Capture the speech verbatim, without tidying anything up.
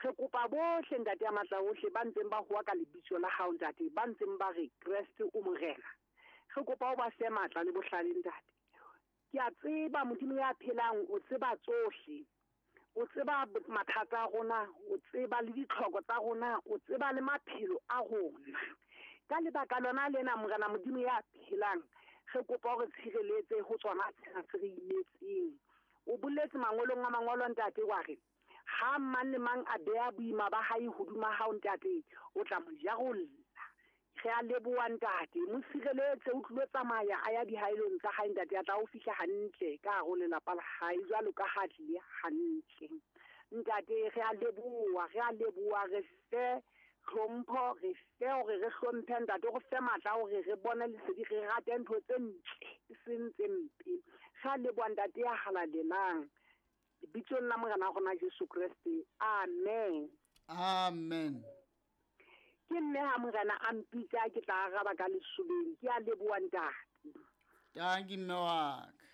Re kopa bohle ntate ya matla ohle ba ntseng ba howa ka lebitso la hao ntate, ba ntseng ba re Kreste o morena. Re kopa o ba fe matla le bohlale ntate. Ke a tseba Modimo ya phelang o tseba tsohle. O tseba mathata a rona, o tseba le ditlhoko tsa rona, o tseba le maphelo a rona. Ka lebaka lona lena morena Modimo ya phelang, re kopa hore tshireletse ho tsona tsena tse re imetseng. O boletse mangolong a mangolo ntate wa re ha mang le mang a beha boima ba hae hodima hao ntate, o tla mo jarolla. Re a leboha ntate, mo sireletse o tlilo tsamaya a ya dihaelong tsa hae ntate, a tla o fihla hantle ka hare ho lelapa la hae jwalo ka ha tlile hantle. Ntate re a leboha, re a leboha, re fe hlompho, re fe hore re hlomphe ntate, re fe matla hore re bone lesedi, re rate ntho tse ntle e seng tse mpe. Re a leboha ntate ya halalelang. Lebitsong la Morena rona Jesu Kreste. Amen. Amen. Ke mme ha morena a mpitsa ke tla araba ka lesobeng. Ke a leboha ntate. Tanki mme wa ka.